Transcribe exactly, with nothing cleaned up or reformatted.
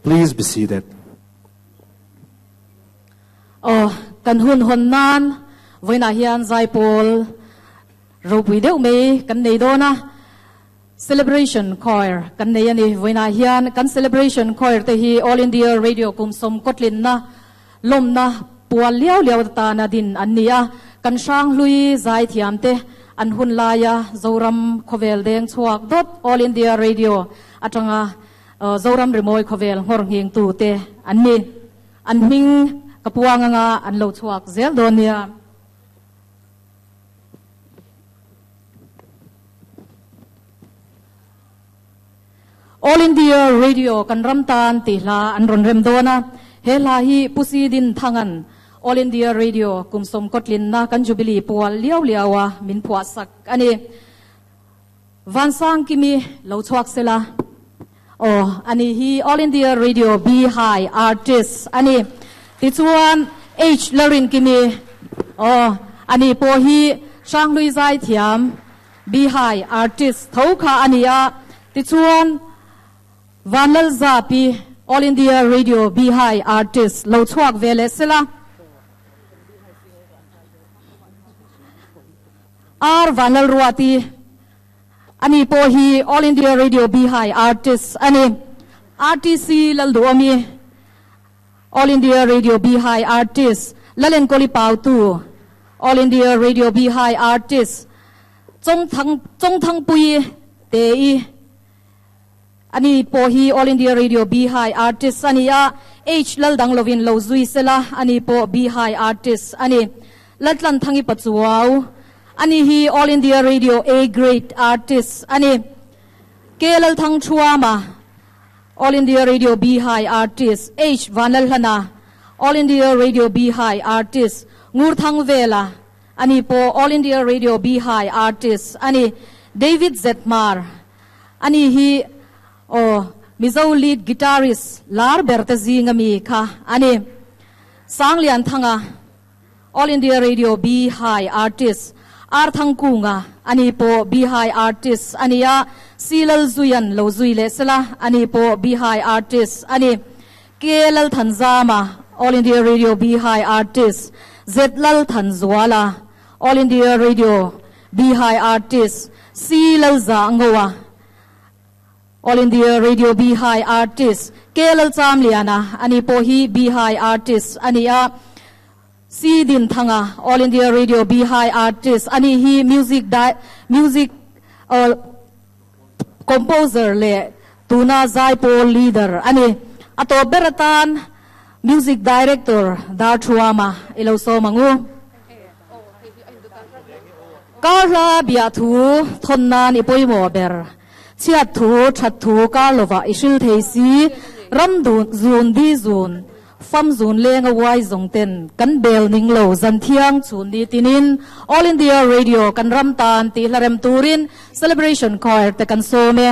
Please be seated. Oh, kan hun hon nan voina hian zaipawl ropui deuh mai kan nei dawna celebration choir kan nei ani voina hian kan celebration choir te hi All India Radio kum som kotlin na lomna pual liau liau ta na din an nia kan sang hlui zai thiam te an hun laia Zoram khovel deng chuak dot All India Radio atanga Zoram rimoi khovel ngor nging tu te an ni an hming kapuanga nga an lo chuak zel donia. All India Radio kan ramtan ti hla an ron rem dona he hla hi pusi din thangan All India Radio kumsom kotlin na kan jubilee pual liau liawa min phua sak ani vansang kimi lo chuak sela oh ani hi All India Radio B High Artist ani ti chuan H Larin kimi oh ani po hi Shanglui zai thiam B High Artist thokha ania ti chuan Vanlal Zapi All India Radio B High Artist lo chuak vele sela R Vanlal Ruati ani po hi All India Radio B High Artist ani R T C Lalduami All India Radio B High Artist Lalen Koli Pautu All India Radio B High Artist Chong Thang Chong Thang Pui Te I ani po hi All India Radio B High Artist ani a H Lal Dang Lovin Lo Zui Sela ani po B High Artist ani Latlan Thangi Pachuau ani hi All India Radio A Grade Artist ani K Lal Thang Chuama All India Radio B High Artist H Vanlal Hana All India Radio B High Artist Ngur Thang Vela ani po All India Radio B High Artist ani David Zetmar ani hi oh Mizo lead guitarist lar berte zinga mi kha ani Sanglian Thanga All India Radio B High Artist R Thangkunga ani po B High Artist ania Silal Zuyan lo zui le sela ani po B High Artist ani Kelal Thanzama All India Radio B High Artist Zetlal Thanzwala All India Radio B High Artist Silal Zangowa All India Radio B High Artist Kelal Chamliana ani po hi B High Artist ania C Din Thanga All India Radio B High Artist ani hi music di music uh, composer le tuna zaipo leader ani ato beratan music director dar thuama ilo so mangu karla bia thu thonnan ipoimo ber chiat thu that thu karlova isil theisi ram dun zun di zun fam zun leng a wai zong ten kan bel ning lo zan thiang chun ni tinin All India Radio kan ram tan ti hlarem turin celebration choir te kan so me.